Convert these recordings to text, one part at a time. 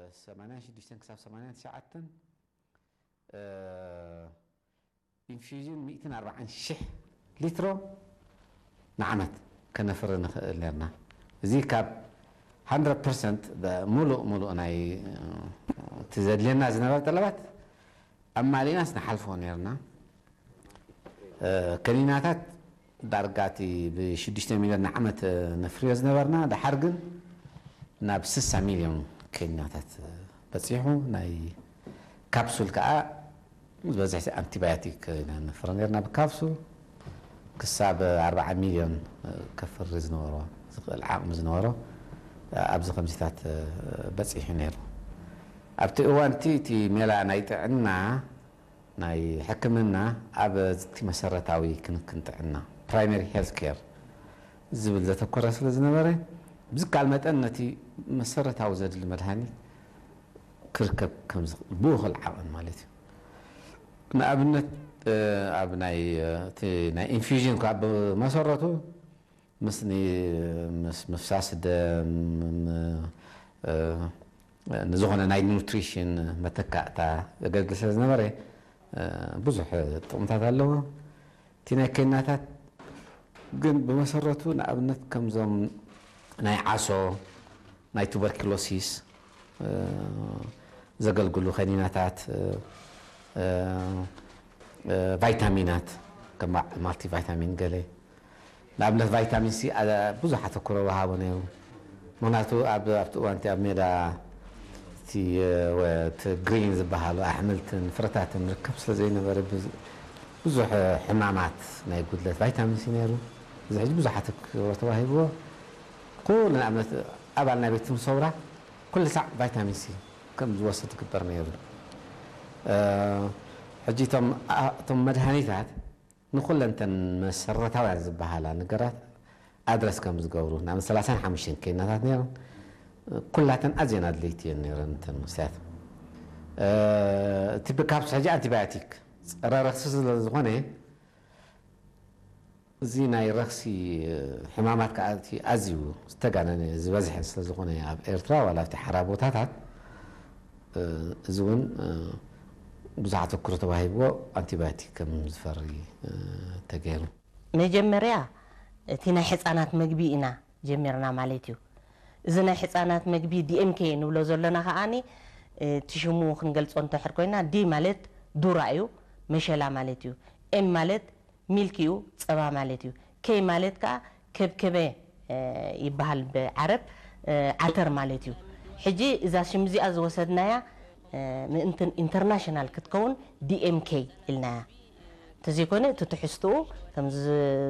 ሰማንያን ሽዱሽተን ክሳብ ሰማንያን ትሽዓተን ኢንፊውዥን ሚእትን ኣርባዓን ሽሕ ሊትሮ ንዓመት ከነፍሪ ንኽእል ነርና። እዚ ካብ ሃንድረድ ፐርሰንት ሙሉእ ሙሉእ ናይ እቲ ዘድልየና ዝነበረ ጠለባት ኣማሊእናስ ንሓልፎ ነርና። ከኒናታት ዳርጋ እቲ ብሽዱሽተ ሚልዮን ንዓመት ነፍርዮ ዝነበርና፣ ድሓር ግን ናብ ስሳ ሚልዮን ከኒናታት በጺሑ። ናይ ካፕሱል ከኣ ዝበዝሕ ኣንቲባዮቲክ ኢና ነፍሪ ነርና። ብካፕሱል ክሳብ ኣርባዓ ሚልዮን ከፍሪ ዝነበሮ፣ ዝኽእል ዓቕሚ ዝነበሮ ኣብዚ ከምዚታት በጺሑ ነይሩ። ኣብቲ እዋንቲ እቲ ሜላ ናይ ጥዕና ናይ ሕክምና ኣብ እቲ መሰረታዊ ክንክን ጥዕና፣ ፕራይመሪ ሄልት ኬር ዝብል ዘተኮረ ስለ ዝነበረ፣ ብዝከኣል መጠን ነቲ መሰረታዊ ዘድሊ መድሃኒት ክርከብ ከም ዝኽእል ብእኹል ዓቐን ማለት እዩ። ንኣብነት ኣብ ናይ እቲ ናይ ኢንፊውዥን ካብ መሰረቱ ምስ ኒ- ምስ ምፍሳስ ደም ም- እ፣ ንዝኾነ ናይ ኒውትሪሽን መተካእታ ዘገልግል ስለ ዝነበረ እ፣ ብዙሕ ጥቕምታት ኣለዎ። እቲ ናይ ከኒናታት ግን ብመሰረቱ ንኣብነት ከምዞም ናይ ዓሶ ናይ ቱበርኪሎሲስ እ፣ ዘገልግሉ ከኒናታት እ፣ እ፣ እ፣ ቫይታሚናት ከም ማልቲ ቫይታሚን ገለ ንኣብነት ቫይታሚን ሲ ኣ- ብዙሕ ኣተኩሮ ወሃቦ ነይሩ። ምክንያቱ ኣብ ኣብቲ እዋን እቲ ኣብ ሜዳ እቲ ወ- እቲ ግሪን ዝበሃሉ ኣሕምልትን ፍረታትን ርከብ ስለ ዘይነበረ ብዙ- ብዙሕ ሕማማት ናይ ጉድለት ቫይታሚን ሲ ነይሩ። እዚ ሕጂ ብዙሕ ኣተኩሮ ተዋሂብዎ። ኩሉ ንኣብነት ኣባል ናይ ቤት ትምህርቲ ሰውራ ኩሉ ሳዕ ቫይታሚን ሲ ከም ዝወስድ ዝግበር ነይሩ። ሕጂ እቶም መድሃኒታት ንኩለንተን መሰረታውያን ዝበሃላ ነገራት ኣድረስ ከም ዝገብሩ ናብ ሰላሳን ሓሙሽተን ኬናታት ነይረን። ኩላተን ኣዝየን ኣድለይቲ እየን ነይረን እተን መስተያት። እቲ ብካፕስ ሕጂ ኣንቲባዮቲክ ጸረ ረክሲ ስለ ዝኾነ እዚ ናይ ረኽሲ ሕማማት ከዓ እቲ ኣዝዩ ዝተጋነነ ዝበዝሐ ስለ ዝኾነ ኣብ ኤርትራ ዋላ ኣብቲ ሓራ ቦታታት እዚ እውን ብዙሕ ኣተኩሮ ተዋሂብዎ ኣንቲባዮቲክ ከም ዝፈሪ ተገይሩ። መጀመርያ እቲ ናይ ሕፃናት መግቢ ኢና ጀሚርና ማለት እዩ። እዚ ናይ ሕፃናት መግቢ ዲኤምኬ ንብሎ ዘለና ከዓኒ እቲ ሽሙ ክንገልፆ እንተሕር ኮይና ዲ ማለት ዱራ እዩ፣ መሸላ ማለት እዩ። ኤም ማለት ሚልክ እዩ፣ ፀባ ማለት እዩ። ኬይ ማለት ከዓ ከብከበ ይበሃል ብዓረብ ዓተር ማለት እዩ። ሕጂ እዛ ሽም እዚኣ ዝወሰድናያ ምእንትን ኢንተርናሽናል ክትከውን ዲኤምኬ ኢልናያ። እንተዘይኮነ እቲ ትሕዝትኡ ከምዚ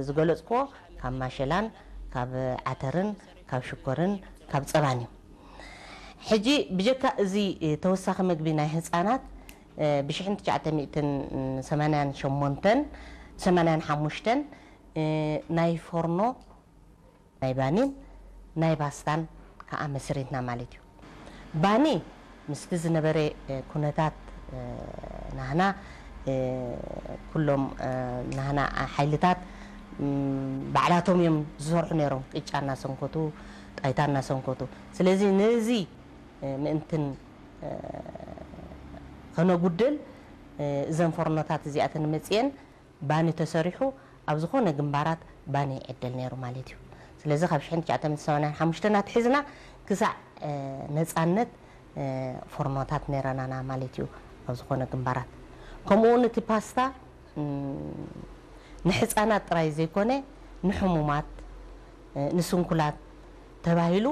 ዝገለፅክዎ ካብ ማሸላን ካብ ዓተርን ካብ ሽኮርን ካብ ፀባን እዩ። ሕጂ ብጀካ እዚ ተወሳኺ መግቢ ናይ ህፃናት ብ1988 ናይ ፎርኖ ናይ ባኒን ናይ ባስታን ከዓ መስሪትና ማለት እዩ። ባኒ ምስቲ ዝነበረ ኩነታት ናህና ኩሎም ናህና ሓይልታት ባዕላቶም እዮም ዝሰርሑ ነይሮም፣ ቅጫ እናሰንከቱ ጣይታ እናሰንከቱ። ስለዚ ነዚ ምእንትን ከነጉድል እዘን ፎርኖታት እዚኣተን መፅየን ባኒ ተሰሪሑ ኣብ ዝኾነ ግንባራት ባኒ ይዕደል ነይሩ ማለት እዩ። ስለዚ ካብ ሽሕን ትሽዓተ ሚእትን ሰማንያን ሓሙሽተን ኣትሒዝና ክሳዕ ነፃነት ፎርኖታት ነይረናና ማለት እዩ ኣብ ዝኾነ ግንባራት። ከምኡ እውን እቲ ፓስታ ንሕፃናት ጥራይ ዘይኮነ ንሕሙማት፣ ንስንኩላት ተባሂሉ